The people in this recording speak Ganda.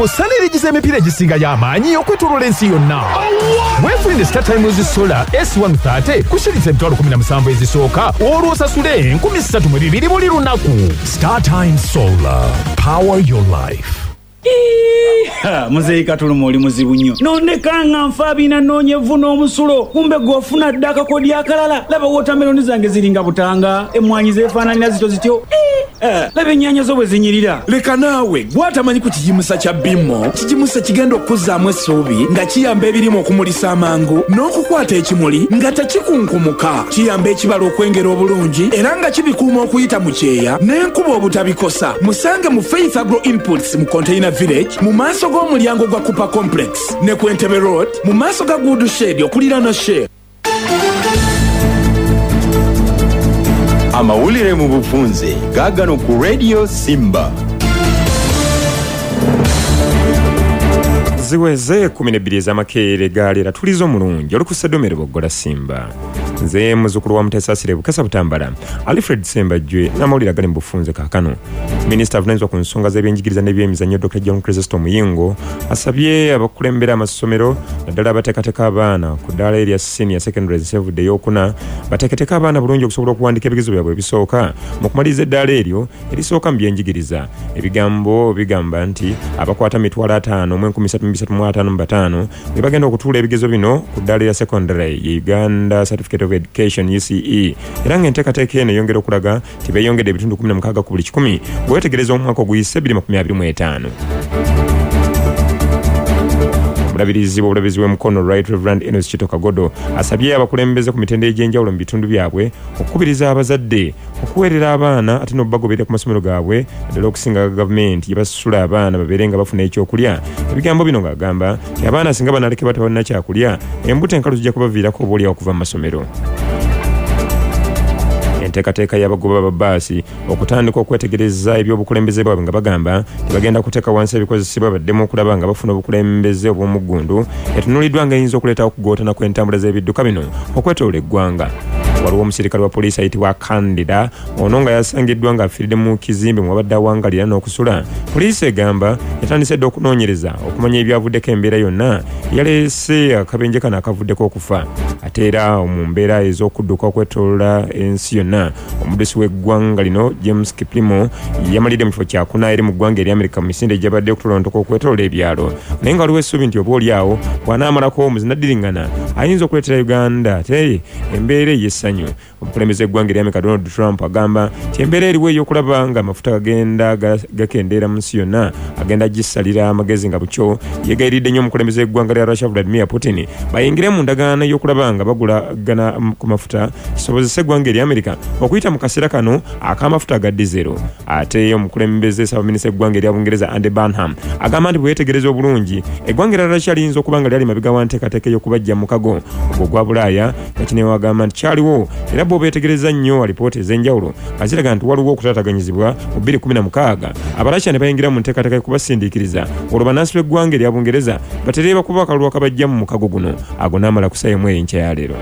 Osala erigiza emipiira egisingayo amaanyi okwetooloola ensi yonna. Weefunire StarTimes Solar S130 ku shilingi 17000 ezisooka, olwo osasule 3200 buli lunaku. StarTimes Solar, power your life. Muzeeyi Katuluma oli muzibu nnyo, nondeka nga nfa bina nnoonya evvu n'omusulo, kumbe gwe ofuna dda akakodyo akalala. Laba wootameroni zange ziringa butanga, emmwanyi zeefaananira zityo zityo. Laba ennyaanya zo bwe zinyirira. Leka naawe, gw'atamanyi ku kigimusa kya Bimmo. Kigimusa kigenda okukuzzaamu essuubi nga kiyamba ebirime okumulisa amangu n'okukwata ekimuli nga tekikunkumuka. Kiyamba ekibala okwengera obulungi era nga kibikuuma okuyita mu kyeya n'enkuba obutabikosa. Musange mu Faith Agro Inputs mu Container Village mu maaso g'omulyango gwa Cooper Complex ne ku Entebbe Road mu maaso ga Good Shed okuliraana Shell. Amawulire mu bufunze gaagano ku Radio Simba. Ziweze 12 ez'amakeere gaaleera tulizo omulungi olukusa ddomero boggola Simba. Nze muzzukulu wa Muteesasire Bukasa Butambala, Alfred Sembajwe, n'amawulire agali mu bufunze kaakano. Minisita avunaanyizibwa ku nsonga z'ebyenjigiriza n'ebyemizannyo Dr. John Chrysostom Muyingo asabye abakulembera amasomero naddala abateekateeka abaana ku ddaala erya senior secondary ensevudde ey'okuna bateeketeeke abaana bulungi okusobola okuwandiika ebigezo byabwe ebisooka mu kumaliriza eddaala eryo erisooka mu byenjigiriza. Ebigambo bigamba nti abakwata 53,355 be bagenda okutuula ebigezo bino ku ddaala erya secondary ye Uganda Certificate of Education UCE, era ng'enteekateeka eno eyongera okulaga nti beeyongedde ebitundu 16 ku buli kikumi bwe weetegereza omwaka oguyise 2025. Omulabirizi w'obulabirizi bw'e Mukono, Right Reverend Enos Kito Kagodo, asabye abakulembeze ku mitendera egy'enjawulo mu bitundu byabwe okukubiriza abazadde okuweerera abaana ate n'okubagoberera ku masomero gaabwe, naddala okusinga gavumenti gye basasula abaana babeere nga bafuna ekyokulya. Ebigambo bino ng'agamba nti abaana singa banalekebwa tebalina kyakulya, embuto enkalu zijja kubaviirako oboolyawo okuva mu masomero. Enteekateeka y'abagoba ba bbaasi okutandika okwetegereza ebyobukulembeze bwabwe nga bagamba tebagenda kuteeka wansi ebikozesebwa baddemu okulaba nga bafuna obukulembeze obw'omuggundu etunuuliddwa nga eyinza okuleetawo okugootana kw'entambula z'ebidduka bino okwetoloola eggwanga. Waliwo omusirikale wa poliisi ayitibwa Kandida, ono nga yasangiddwa ng'afiiridde mu kizimbe mwabadde awangalira n'okusula. Poliisi egamba yatandise dda okunoonyereza okumanya ebyavuddeko embeera yonna yaleese akabenje kano akavuddeko okufa. Ate era mu mbeera ez'okudduka okwetoloola ensi yonna, omuddusi w'eggwanga lino James Kiplimo yamalidde mu kifo kyakuna eri mu ggwanga erya Amerika mu misinde egyabadde okutolontoka okwetoloola ebyalo, naye nga waliwo essuubi nti oba oli awo bw'anaamalako omuzinaddiringana ayinza okuleetera Uganda ate embeera ey'essanyu. Omukulembeze w'eggwanga erya Amerika Donald Trump agamba nti embeera eriwo ey'okulaba nga amafuta gagenda gakendeera mu nsi yonna agenda gisalira amagezi, nga bukyo yeegayiridde nnyo omukulembeze w'eggwanga lya Russia Vladimir Putin bayingire mu ndagaano ey'okulaba nga bagulagana ku mafuta kisobozese eggwanga erya Amerika okuyita mu kaseera kano ak'amafuta aga dizero. Ate omukulembeze ssaabaminisita w'eggwanga erya Bungereza Andy Burnham agamba nti bwe yeetegereza obulungi eggwanga erya Russia liyinza okuba nga lyali mabega wa nteekateeka ey'okubajja mu mukago ogwo ogwa Bulaaya, nga kino agamba nti kyaliwo era bo beetegereza nnyo alipoota ez'enjawulo nga ziraga nti waliwo okutaataganyizibwa mu 2016 Abarasha ne bayingira mu nteekateeka y'okubasindiikiriza olwo bannansi b'eggwanga erya Bungereza batere bakuba akalulu akabajja mu mukago guno. Ago n'amala kusayo enkya ya leero.